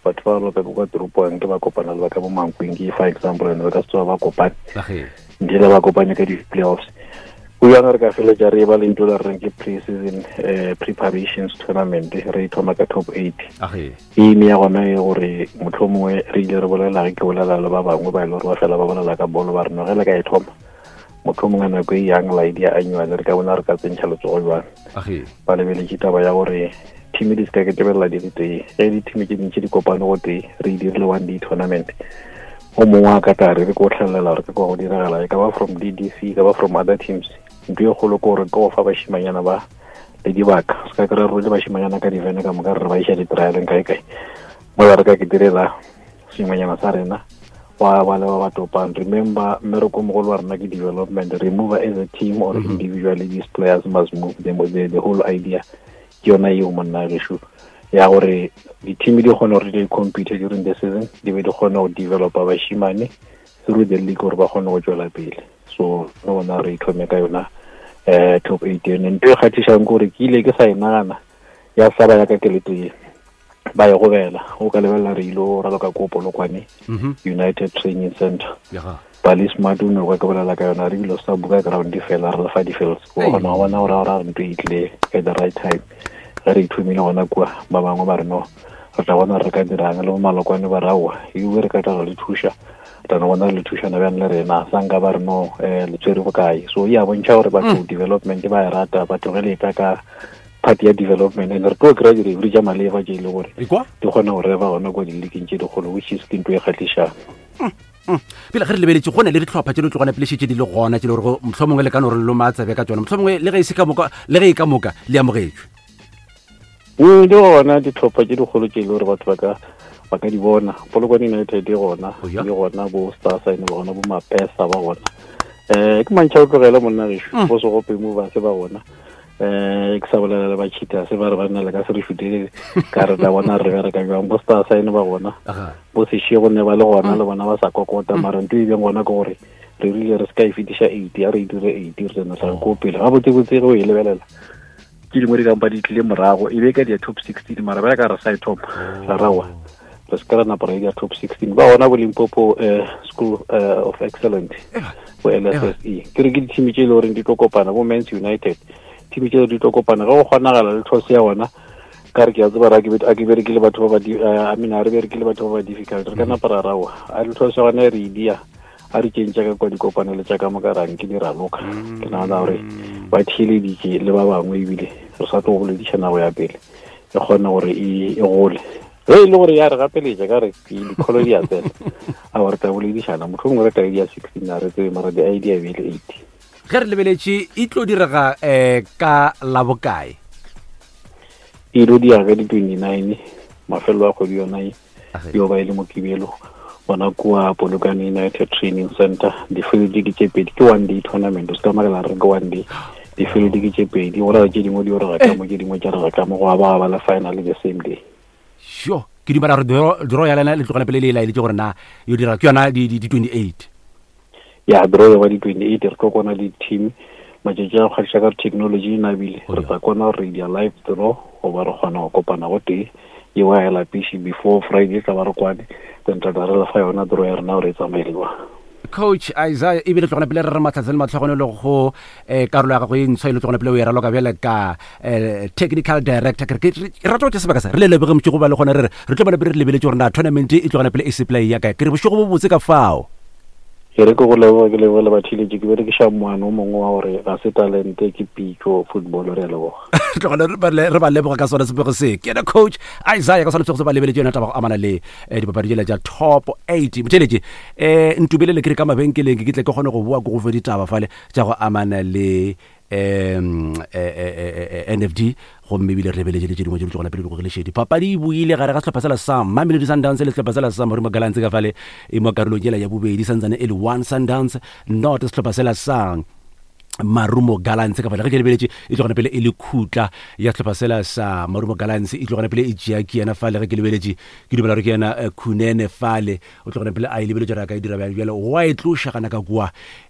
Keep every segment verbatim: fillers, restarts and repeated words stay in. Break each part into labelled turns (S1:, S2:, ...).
S1: Batho ba lope kwa toropong ke ba kopana le ba ka bo Mankweng, ke fa example, and ba ka se tsoga ba kopane ntle le ba kopane ka di-playoffs. Go jang re ka feletša re ba le ntho la reng ke pre-season eh, preparations tournament, re thoma ka top eight. Aim ya gona e gore motlho mongwe re ile re bolela, ge ke bolela le ba bangwe ba e le gore ba fela ba bolela ka bolo, ba re no ge le ka e thoma motlho mongwe nako e yang la idea annual re ka bona re ka tsentšha letsogo jwang. Ba lebeletše taba ya gore team di se ka ketebelela di le tee, ge di-team tše dintši di kopane go tee, re e dirile one day tournament, o mongwe a ka tla re re ko tlhelela gore ke kwa go diragala, e ka ba from D D C, e ka ba from other teams. Ntho e kgolo ke gore ke go fa bašimanyana ba le dibaka, se ka kry re le bašimanyana ka divene ka moka re re ba iša di-trialeng kae kae mola re ka ke direla sengwenyana sa rena wa ba le ba ba topang. Remember, mmereko mogolo wa rena ke development. Re move as a team or mm -hmm. individually, these players must move. the, the, the whole idea ke yona eo, monna gešo, ya gore di-team di kgone gore di compete during the season, di be di kgone go developa bashimane through the league gore ba kgone go tswela pele. So re bona re ithome ka yona um top eight ene. Ntho e kgathišang ke gore ke ile ke sa e nagana ya saba ya ka keletso ye ba e gobela. O ka lebelela re ile go raloka ko Polokwane United Training Center, Bali Smart o ne ka ke bolela ka yona, re bile sa buka ground fela re lefa di-fields, o kgona go bona gore gore ntho e tlile at the right time. Ge re ithomile gona kua, ba bangwe ba re no re tla bona re ka dirang le bo Malokwane, ba re aowa ewe re ka tla re le thuša, tla no bona re le thušana bjang le rena, sa nka ba re no um le tshwere bokae. So e a bontšha gore batho development ba e rata, batho ge le etla ka part ya development, and re tlo kry-a di-referee tša maleba tše e le gore di kgona go reba gona kwa di-leagueng tše dikgolo, which is ke ntho e kgatlhišang.
S2: Pele ge re lebeletše, go na le ditlhopha tše di tlogana pele šetse di le gona tše le gore motlho mongwe le ka no re loma tsebe ka tsona, motlho mongwe le ge e se ka moka, le ge e ka moka le amogetšwe?
S1: Mm, di gona ditlhopha tše dikgolo tše e le gore batho ba ka ba ka di bona. Polokwane United e gona, e gona bo Star Sign ba gona, bo Mapesa ba gona, um ke mantšha o tlogele monna gešo, bo Segope Movers ba gona, um ke sa bolela le ba Cheetahs, ba re ba nna le ka se re šutele ka re tla bona re bereka jwang. Bo Star Sign ba gona, bo Sešego ne ba le gona le bona ba sa kokota, mara ntho e beng gona ke gore re rile re se ka e fetiša eight, ya re e dire eight, re tsena tla ko pele gabotsebotse. Ge o e lebelela ke dingwe di kampa di tlile morago, e be ka dia top sixteen, mara bjale ka re sa e thoma ra rawa re se ka ra napa ra e dia top sixteen. Ba gona bo Limpopo uh, School uh, of Excellent, bo L S S E, ke re ke di-team tše e le goreng di tlo kopana, bo Mans United, team tše di tlo kopana ge go kgonagala le tlhose ya gona. Ka re ke a tseba re a ke berekile batho ba ba I mean, a re berekile batho ba ba difficult, re ka napa ra rawa a le tlhose ya gona re e dia, a re kentša ka kwa dikopanelo tša ka moka rang ke di raloka. Ke nagana gore ba theeleditše le ba bangwe, ebile re sa tlo go boledišana go ya pele e kgone gore e gole. Ge e le gore ya re gapeletša ka re dikholo di a tsena, a re tla boledišana, motlho mongwe re tla di ya sixteen, a re tsebe, mara di-idea be le eight.
S2: Ge re lebeletše, e tlo direga um ka labokae?
S1: E tlo dira ka di-twenty-nine, mafelo a kgwedi yona e yo ba e le Mokibelo, gona kua Polokwane United Training Center. Di-field ke tše pedi, ke one day tournament, o se ka makala re ke one day. Di-field ke tše pedi, go raya tše dingwe di o rega ka mo, tše dingwe tša rega ka mo, go ba ba le final the same day.
S2: Sure, ke dumela gore draw ya lena le tlogela pele le e laeditše gore na yo dira ke yona di-twenty-eight.
S1: Ya, draw ya ba di-twenty-eight, re tlo kona di-team matšatši a go kgadiša ka technology e nabile, re tla kona gore re dia live draw goba re kgona go kopana go tee eo a e lapiše before Friday, tla ba re kwane, then tla tla re lefa yona draw ya rena gore e tsamaele jwang.
S2: Coach Isaiah, ebile tlogona pele re re matlhatse le matlhogono le go um karolo ya gago e ntshwa e le tlogona pele o e raloka bjale ka um technical director. Ke re rata go tša sebaka sa re le leboge motšego ba le gona, re re re tlo bona pele re lebeletse gore na tournament e tlogona pele e sepela e ya kae. Ke re bošego bo botse ka fao.
S1: Ke re ke go leboga, ke leboga le batheeletše, ke berekiša moano o mongwe wa gore ga se talente, ke pitso football. Re a leboga.
S2: Tlogela re ba leboga ka sona sepego se. Ke ena Coach Isaiah ka sona sepego se, ba lebeletše yona taba go amana le eh, dipapadi tšela tša top eight. Motheeletše, um ntubelele ke re ka mabenkeleng, ke tle ke kgone go boa ko go fe ditaba fale tša go amana le um N F D, gomme ebile re lebeletše le tše dingwe tše di tlogona pele di gogelešedi. Papadi e boile gare ga sehlopha sela sa Mamelodi Sundowns le sehlopha sela sa Marumo Gallants ka fale e mo karolong yela ya bobedi, santsane e le one Sundowns not sehlopha sela sa Marumo Gallants ka fale. Ge ke lebeletše, e tlogana pele e le khutla ya sehlopha sela sa Marumo Gallants, e tlogana pele e tšea ke yena fale. Ge ke lebeletše, ke dumela gore ke yena eh, Khunene fale, o tlogana pele a e lebeletše gore a ka e dira bjang. Bjale wa e tloša gana ka kua,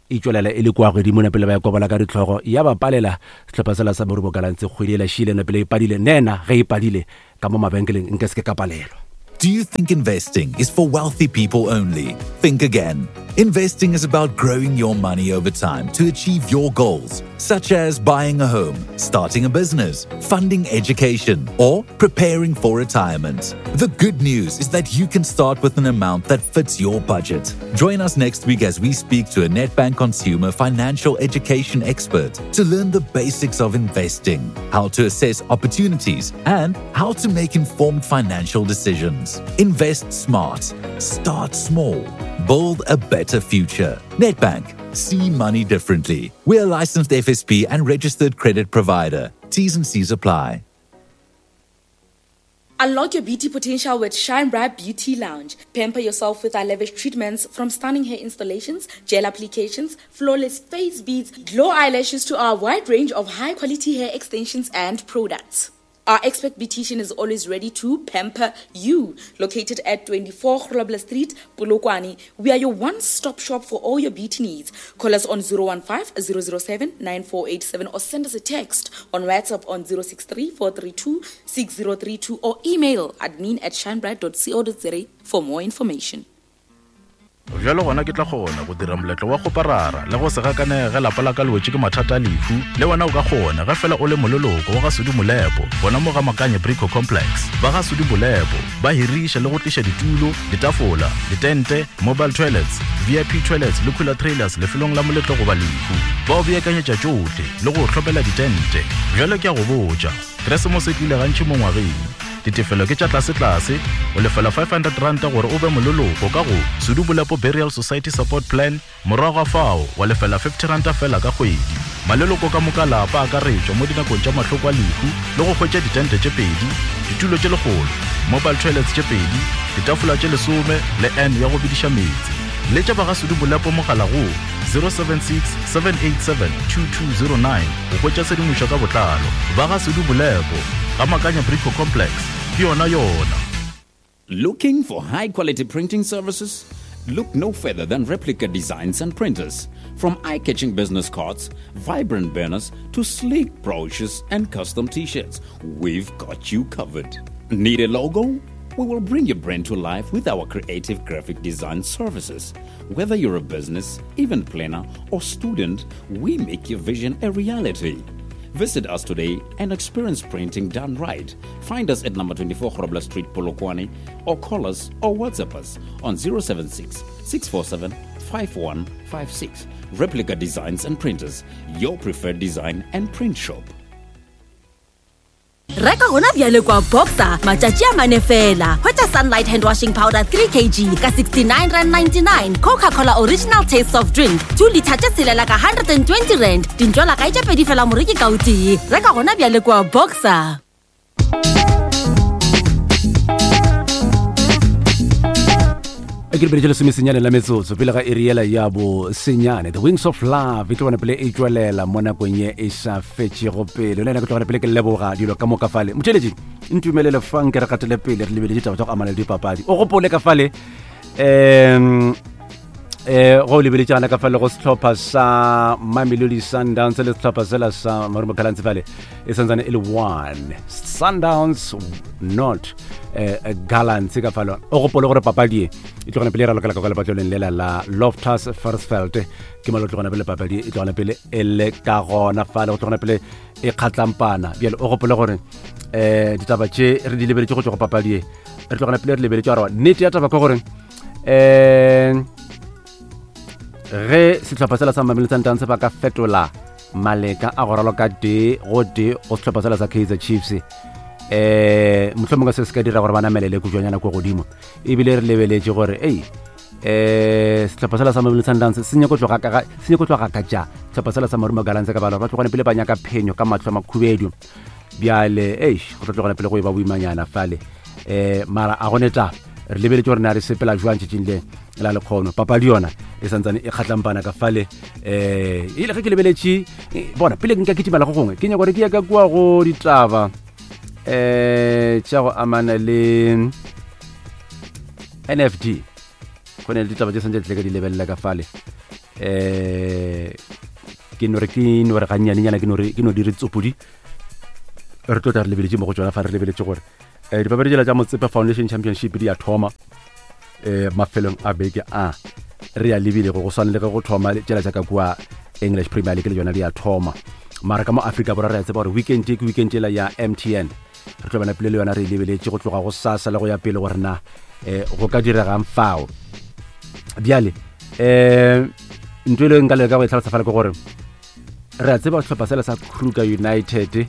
S2: e tšwelela e le kwa godimo na pele ba ya kobola ka ditlhogo, ya ba palela sehlopha sela sa Marumo Gallants. Kgwedi e la šile na pele e padile nena, ge e padile ka mo mabenkeleng nka se ke ka palelwa.
S3: Do you think investing is for wealthy people only? Think again. Investing is about growing your money over time to achieve your goals, such as buying a home, starting a business, funding education, or preparing for retirement. The good news is that you can start with an amount that fits your budget. Join us next week as we speak to a Nedbank consumer financial education expert to learn the basics of investing, how to assess opportunities, and how to make informed financial decisions. Invest smart. Start small. Build a better future. Nedbank. See money differently. We're a licensed F S P and registered credit provider. T's and C's apply.
S4: Unlock your beauty potential with Shine Bright Beauty Lounge. Pamper yourself with our lavish treatments, from stunning hair installations, gel applications, flawless face beads, glow eyelashes to our wide range of high-quality hair extensions and products. Our expert beautician is always ready to pamper you. Located at twenty-four Grobler Street, Polokwane, we are your one-stop shop for all your beauty needs. Call us on zero one five, zero zero seven, nine four eight seven or send us a text on WhatsApp on zero six three, four three two, six zero three two or email admin at shinebright dot co dot za for more information.
S5: Bjalo gona ke tla kgona go dira moletlo wa go parara le go se gakanege lapa la ka le wetše ke mathata a lehu. Le wena o ka kgona ge fela o le moleloko wa ga Sudi Molepo gona mo ga Makanye Brico Complex. Ba ga Sudi Molepo ba hiriša le go tliša ditulo, ditafola, ditente, mobile toilets, V I P toilets le cooler trailers lefelong la moletlo goba lehu. Ba o beakanyetša tšohle le go hlopela ditente. Bjalo ke a go botša, Keresemose e tlile gantši mo ngwageng. Ditefelo ke tša tlase-tlase, o lefela five hundred rand gore o be moleloko ka go Sudi Molepo Burial Society Support Plan, morago ga fao wa lefela fifty rand fela ka kgwedi. Maleloko ka moka lapa a akaretšwa mo dinakong tša mahloko a lehu le go hwetša ditente tše pedi, ditulo tše lekgolo, mobile toilets tše pedi, ditafola tše lesome le N ya go bidiša meetse. Letša ba ga Sudi Molepo mogala go zero seven six, seven eight seven, two two zero nine go hwetša tshedimošo ka botlalo. Ba ga Sudi Molepo ga Makanya Brico Complex, ke yona yona.
S6: Looking for high-quality printing services? Look no further than Replica Designs and Printers. From eye-catching business cards, vibrant banners, to sleek brochures and custom t-shirts, we've got you covered. Need a logo? We will bring your brand to life with our creative graphic design services. Whether you're a business, event planner, or student, we make your vision a reality. Visit us today and experience printing done right. Find us at number twenty-four Grobler Street, Polokwane, or call us or WhatsApp us on zero seven six, six four seven, five one five six. Replica Designs and Printers, your preferred design and print shop.
S7: Reka gona bjale kwa Boxer matšatši a mane fela. Hwetša Sunlight hand washing powder three kilograms ka sixty-nine rand ninety-nine, Coca-Cola original taste soft drink two litre tše tshelela ka hundred and twenty rand. Dintšwala kae tše pedi fela moreki ka o tee. Reka gona bjale kwa Boxer.
S2: Ke re bile lesomesenyane la metsotso pele ga iri yela ya bo senyane. The Wings of Love e tlo bona pele e tšwelela mo nakong ye e sa fetšego pele. Le nna ke tlo bona pele ke leboga dilo ka moka fale. Motšheletši, ntumelele fang ke re gatele pele re lebeletse ditaba tša go amana le dipapadi. O gopole ka fale um eh go lebeletšana ka fale go sehlopha sa Mamelodi Sundowns le sehlopha sela sa Marumo Gallants fale e santsane e le one Sundowns not eh Gallants ka fale. O gopole gore papadi e e tlogana pele e ralokela ka kwa lepatlelong lela la Loftus Versfeld. Ke malo tlogana pele papadi e tlogana pele e le ka gona fale, go tlogana pele e kgatlampana. Bjale o gopole gore eh ditaba tše re di lebeletše go tšwa go papadi e re tlogana pele re lebeletše gore nnete ya taba ke gore eh ge sehlopha sela sa Mamelodi Sundowns ba ka fetola maleka a go raloka tee go tee go sehlopha sela sa Kaizer Chiefs eh mohlomongwe se se ka dira gore ba namelele kujwanyana ko godimo. Ebile re lebeletše gore ei eh sehlopha sela sa Mamelodi Sundowns se nyako tloga ka se nyako tloga ka tša sehlopha sela sa Marumo Gallants ka bala ba tlogane pele ba nyaka phenyo ka mahlo a makhubedu. Bjale eish go tlo tlogana pele go e ba boimanyana fale eh mara a gone taba re lebeletše gore na re sepela jwang tšatšing le la lekgono. Papadi yona e santsane e kgatlampana ka fale eh ile ge ke lebeletše bona pele nka kitimela go gongwe ke nyaka gore ke ya ka kua go ditaba eh tša go amana le N F D. Go ne le ditaba tše santse tle ka di lebelela ka fale eh ke no re ke no re gannyanenyana ke no re ke no dire tsopodi re tlo tla re lebeletše mo go tšona fa re lebeletše gore um dipapadi tšela tša Motsepe Foundation Championship di a thoma um mafelong a beke a re a lebilego, go swane le ge go thoma tšela tša ka kua English Premier League le yona di a thoma. Mara ka mo Afrika Borwa re a tseba gore weekend ke weekend ela ya M T N, re tlo bana pele le yona re e lebeletše go tloga go sasa le go ya pele gore na um go ka diregang fao. Bjale um ntho e le nka leka go e tlhalosa fela ke gore re a tseba sehlopha sela sa Kruger United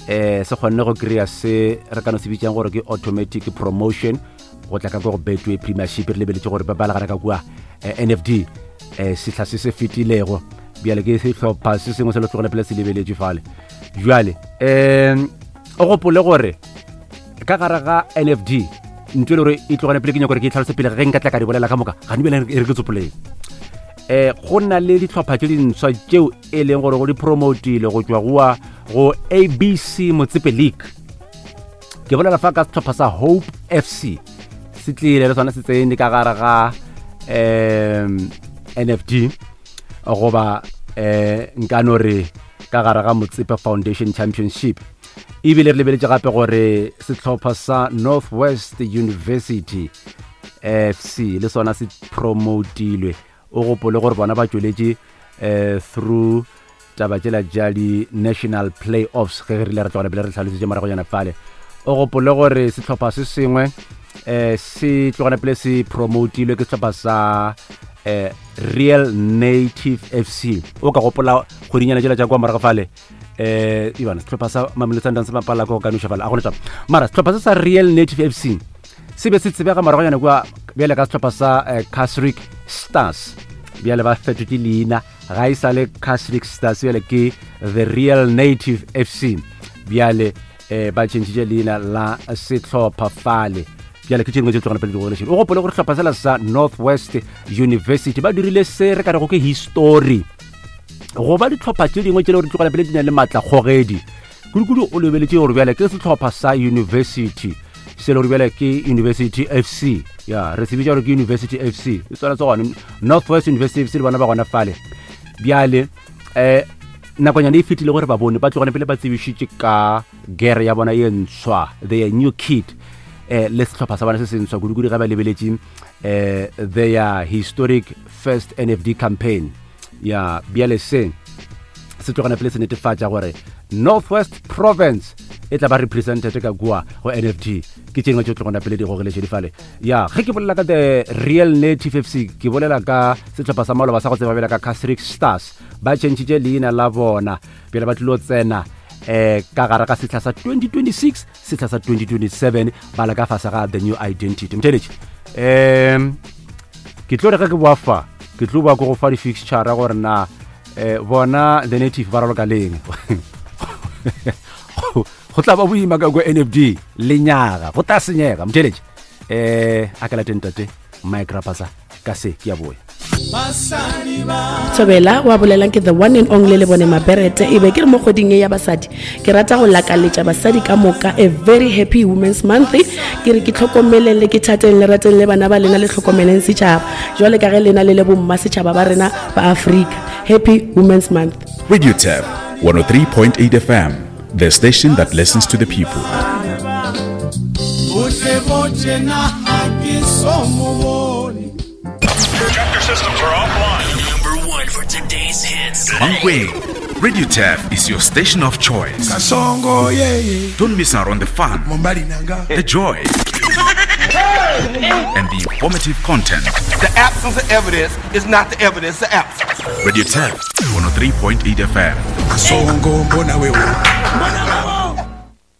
S2: eh se kgonne go kry-a se re ka no se bitsang gore ke automatic promotion go tla ka ko go Betway Premiership. Re lebeletše gore ba bala gare ka kua N F D eh sehla se se fetilego. Bjale ke sehlopha se sengwe se le tlogele pele se lebeletše fale. Jwale um o gopole gore ka gare ga N F D ntho e le gore e tlogele pele ke nyaka gore ke e tlhalose pele ge nka tla ka di bolela ka moka ga ne bjale e re ke tsopoleng. Eh go na le dihlopha tše dintshwa tšeo e leng gore go di promotile go tšwa goa go A B C Motsepe League. Ke bolela fa ka sehlopha sa Hope F C se tlile le sona se tsene ka gare ga um N F D goba eh nka no re ka gare ga Motsepe Foundation Championship. Ebile re lebeletše gape gore sehlopha sa Northwest University F C le sona se promotilwe. O gopole gore bona ba tšweletše eh through taba tšela tša di-national playoffs ge re rile re tlogela pele re tlhalositše moragonyana fale. O gopole gore sehlopha se sengwe eh se tlogela pele se promotilwe ke sehlopha sa eh Real Native F C. O ka gopola kgwedinyana tšela tša kua morago fale eh ibana sehlopha sa Mamelodi Sundowns se bapala ko ka noša fale a gona taba. Mara sehlopha se sa Real Native F C se be se tsebega moragonyana kua bjale ka sehlopha sa eh, Casric Stars. Bjale ba fetotše leina ga e sa le Casric Stars, bjale ke The Real Native F C. Bjale eh, ba tšhentšhitše leina la sehlopha fale. Bjale ke tše dingwe tše tlogana pele di gogelešeng. O gopole gore sehlopha sela sa Northwest University ba dirile se re ka rego ke history goba dihlopha tše dingwe tše le gore di tlogela pele di na le maatlakgogedi kudu-kudu. O lebeletše gore bjale ke sehlopha sa university se le gore bjale ke University F C, ya re se bitša gore ke University F C e swana se gona Northwest University F C le bona ba gona fale. Bjale eh nakonyana e fetile gore ba bone ba tlogane pele ba tsebišitše ka gere ya bona ye ntshwa, their new kit eh le sehlopha sa bona se se ntshwa kudu-kudu ge ba lebeletše eh their historic first N F D campaign. Ya bjale se se tlogana pele se netefatša gore Northwest Province e tla ba represented ka kua go N F D. Ke tše dingwe tše tlogana pele di gogeletše di fale. Ya ge ke bolela ka The Real Native F C ke bolela ka sehlopha sa maloba sa go tseba bjale ka Casric Stars. Ba tšhentšhitše leina la bona bjale ba tlilo tsena eh ka gare ga sehla sa twenty twenty-six sehla sa twenty twenty-seven ba le ka fase ga the new identity. Mtheletše um ke tlo re ge ke boa fa ke tlo boa ko go fa di-fixture gore na eh bona The Native ba raloka leng. Go tla ba boima ka ko N F D lenyaga go tla senyega. Mtheletše eh a ka lateng tate Mike Rapasa ka se ke a boya.
S8: Thobela wa bolelang ke the one and only le bone Maberete. E be ke re mo kgweding ye ya basadi ke rata go lakaletša basadi ka moka a very happy Women's Month. Ke re ke tlhokomeleng le ke thateng le rateng le bana ba lena le tlhokomeleng setšhaba jwale ka ge lena le le bomma setšhaba ba rena ba Afrika. Happy Women's Month.
S9: Radio Tab one oh three point eight F M, the station that listens to the people.
S10: Chapter systems are offline. Number one for today's hits.
S9: Mankweng, Radio Tab is your station of choice. Don't miss out on the fun, the joy, and the informative content.
S11: The absence of evidence is not the evidence of absence.
S9: Radio Tab one oh three point eight F M.